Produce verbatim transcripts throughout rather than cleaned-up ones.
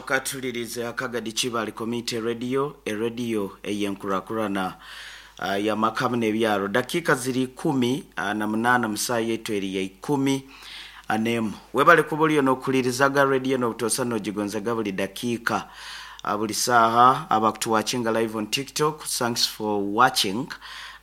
Okatulirize Kagadi Kibaale Community Radio, erediyo ey'enkurakurana uh, y'amakamu n'ebyaro. Dakiika ziri ikumi uh, na munaana musaa yaitu eri ya ikumi n'emu. Webale kuba oliyo n'okulirizaga rediyo n'obutosa n'ogigonzaga buli dakiika, uh, buli saaha. Abakutuwatchinga live on TikTok, thanks for watching,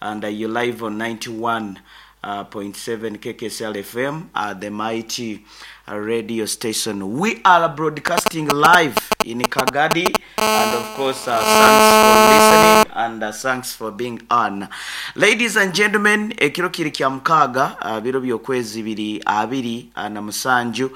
and uh, you live on ninety-one uh, point seven K K S L F M, uh, the mighty uh, radio station. We are broadcasting live in Kagadi, and of course, uh, thanks for listening and uh, thanks for being on. Ladies and gentlemen, ekiro kiri kya mukaaga, uh, biro by'okwezi biri abiri uh, na musanju,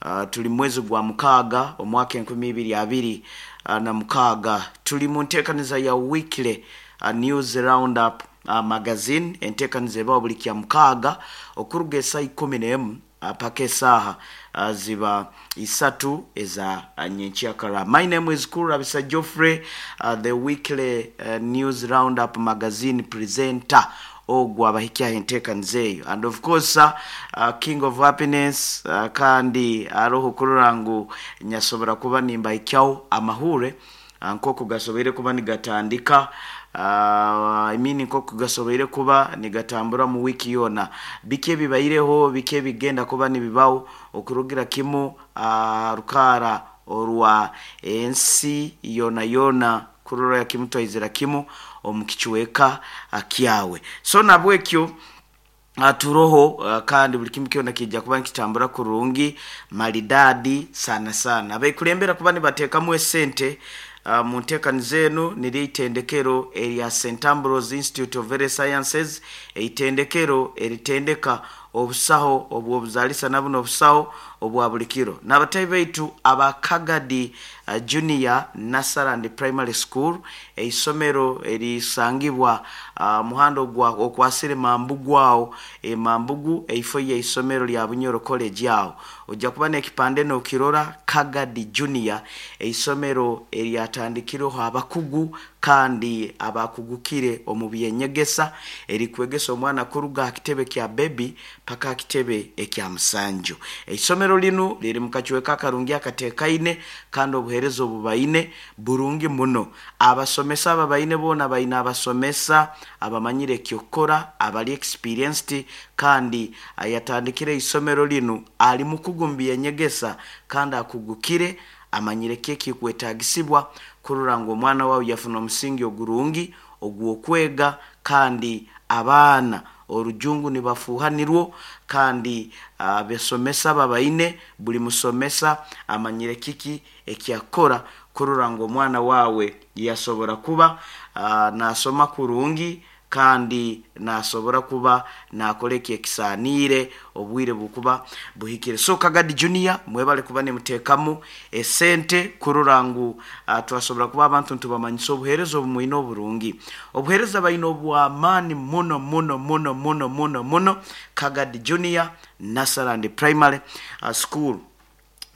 uh, tuli mwezi gwa mukaaga omwaka enkumi ibiri abiri uh, na mukaaga. Tuli mu nteekaniza ya weekly uh, news roundup uh, magazine, enteekaniza ebawo buli kya mukaaga okuruga esaa ikumi n'emu uh, paka esaaha uh, ziba isatu eza uh, nyenkyakara. My name is Kurabisa Geoffrey, uh, the weekly uh, news roundup magazine presenter ogwo abahikyaho enteekaniza eyo, and of course uh, uh, king of happiness, uh, kandi aroho kurora ngu nyasobora kuba nimbahikyaho amahure uh, nk'oku gasoboire kuba nigatandika, uh, I mean, nk'oku gasoboire kuba nigatambura mu wiiki yoona, biki ebibaireho, biki ebigenda kuba nibibaho okurugira kimu uh, rukaara orwa ensi yoona yoona, kurora kimu twaizira kimu omu kicweka uh, kyawe. So nabwekyo uh, turoho, uh, kandi buli kimu kyona kijja kuba nikitambura kurungi maridadi sana sana. Abekulembera kuba nibateekamu esente uh, mu nteekaniza enu niryo itendekero erya Saint Ambrose Institute of Health Sciences, eitendekero eritendeka obusaho obw'obuzaalisa na buno obusaho obwa buli kiro, n'abatahi baitu aba Kagadi uh, Junior Nursery and Primary School, eisomero erisangibwa uh, muhanda ogwa okwasire Mambugu awo e Mambugu, eifo y'eisomero lya Bunyoro College awo ojja kuba n'ekipande n'okirora, Kagadi Junior, eisomero eryatandikireho abakugu kandi abakugukire omu byenyegesa, erikwegesa omwana kuruga aha kitebe kya baby paka aha kitebe ekya musanju. Eisomero linu liri mu kacweka akarungi akateekaine, kandi obuheereza obu baine burungi muno. Abasomesa aba baine boona baine abasomesa abamanyire ekyokukora, abali experienced, kandi ayatandikire eisomero linu ali mukugu mu byenyegesa kandi akugukire, amanyire ki ekikwetagisibwa kurora ngu omwana wawe yafuna omusingi ogurungi ogw'okwega, kandi abaana orujungu nibafuuhanirwo, kandi abasomesa babaine, buli musomesa amanyire kiki ekyakukora kurora ngu omwana wawe yasobora kuba uh, nasoma kurungi kandi nasobora kuba nakora eki ekisaaniire obwire bukuba buhikire. So Kagadi Junior, mwebale kuba nimuteekamu esente kurora ngu uh, twasobora kuba abantu ntubamanyisa obuheereza obu mwine oburungi, obuheereza baine obw'amaani muno muno muno muno muno muno, Kagadi Junior Nursery and Primary uh, School.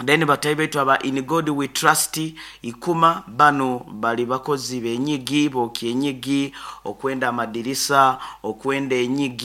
Then batahi baitu aba In God We Trust Ikuma, bano bali bakozi benyigi, bokya enyigi, okwenda amadirisa, okwenda enyigi.